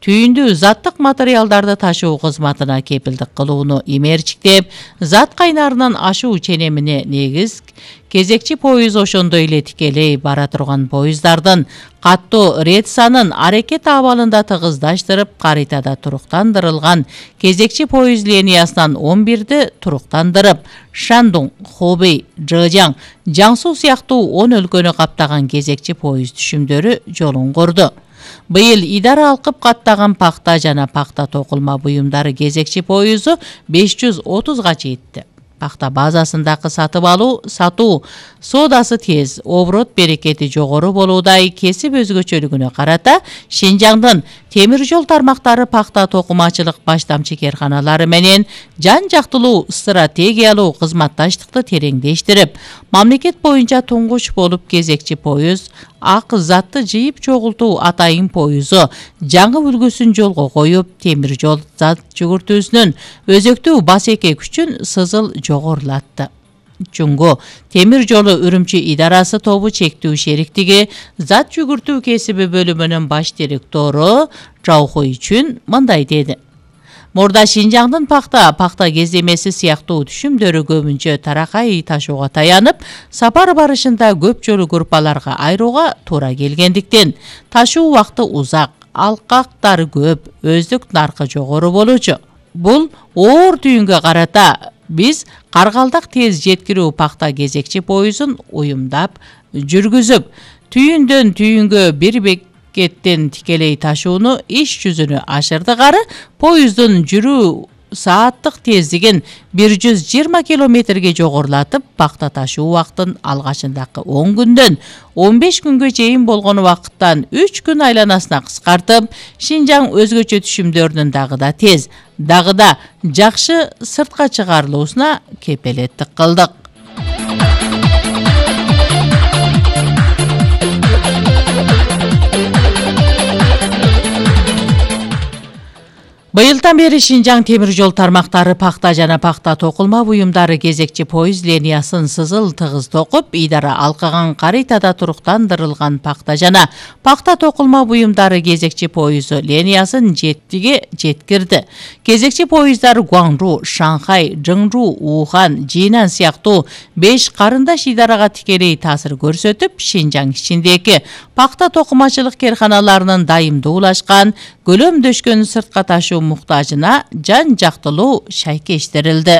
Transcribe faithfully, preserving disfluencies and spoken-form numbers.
түйүндүү заттык материалдарды ташуу кызматына кепилдик кылууну имерчиктеп, зат кайнарынан ашуу ченемине негиз кезекчи поезд ошондой эле тикелей бара турган поезддардын каттуу рет санын аракет абалында тыгыздаштырып, каритада туруктандырылган кезекчи поезд линиясынан он бирди туруктандырып, Шандун, Хобей, Жэжяң, Жаңсу сыяктуу он өлкөнү каптаган кезекчи поезд түшүмдөрү жолун курду. Быйыл идара алкып каттаган пахта жана пахта токулма буюмдары кезекчи поезду беш жүз отузга жетти. Пахта базасындагы сатып алуу, сатуу соодасы тез, оборот берекети жогору болуудай кесип өзгөчөлүгүнө карата Шинжаңдын темир жол тармактары пахта токумачылык баштамчы керканалары менен жан жактылуу стратегиялуу кызматташтыкты тереңдештирип, мамлекет боюнча туңгуч болуп кезекчи поезд ак затты жыйып чогултуу атайын поезду жаңы үлгүсүн жолго коюп, темир жол зат жүгүртүүсүнүн өзөктүү басеке күчүн сызыл жогорулатты. Чуңгу темир жолу Үрүмчү идарасы тобу чектүү шериктиги зат жүгүртүү кесиби бөлүмүнүн баш директору Жаухой үчүн мындай деди. Мурда Шинжаңдын пахта, пахта кездемеси сыяктуу түшүмдөрү көбүнчө таракай ташууга таянып, сапар барышында көп жолу группаларга айрууга туура келгендиктен ташуу убакыты узак, алкактары көп, өздүк наркы жогору болчу. Бул оор түйүнгө карата биз Каргалдак тез жеткирүү пахта кезекчи поездун уюмдап жүргүзүп, түйүндөн түйүнгө бир бекеттен тикелей ташууну иш жүзүнө ашырдык ары поезддун жүрүү сааттык тездигин бир жүз жыйырма километрге жогорулатып, пахта ташуу убактын алгачындагы он күндөн он беш күнгө чейин болгон убакыттан үч күн айланасына кыскартып, Шинжаң өзгөчө түшүмдөрүнүн дагы да тез, дагы да жакшы сыртка чыгарылуусуна кепелеттик кылдык. Быйылдан бери Шинжаң темир жол тармактары пахта жана пахта токулма буюмдары кезекчи поезд линиясын сызыл тыгыз токуп, идара алкаган каритада туруктандырылган пахта жана пахта токулма буюмдары кезекчи поезду линиясын жеттиге жеткирди. Кезекчи поезддар Гуаңжу, Шанхай, Жыңжу, Ухан, Жинан сыяктуу беш карындаш идарага тикелей таасир көрсөтүп, Шинжаң ичиндеги пахта токумачылык керканаларынын дайымдуулашкан, көлөмдөшкөн сыртка ташуу муктажына жан жактылуу шайкештирилди.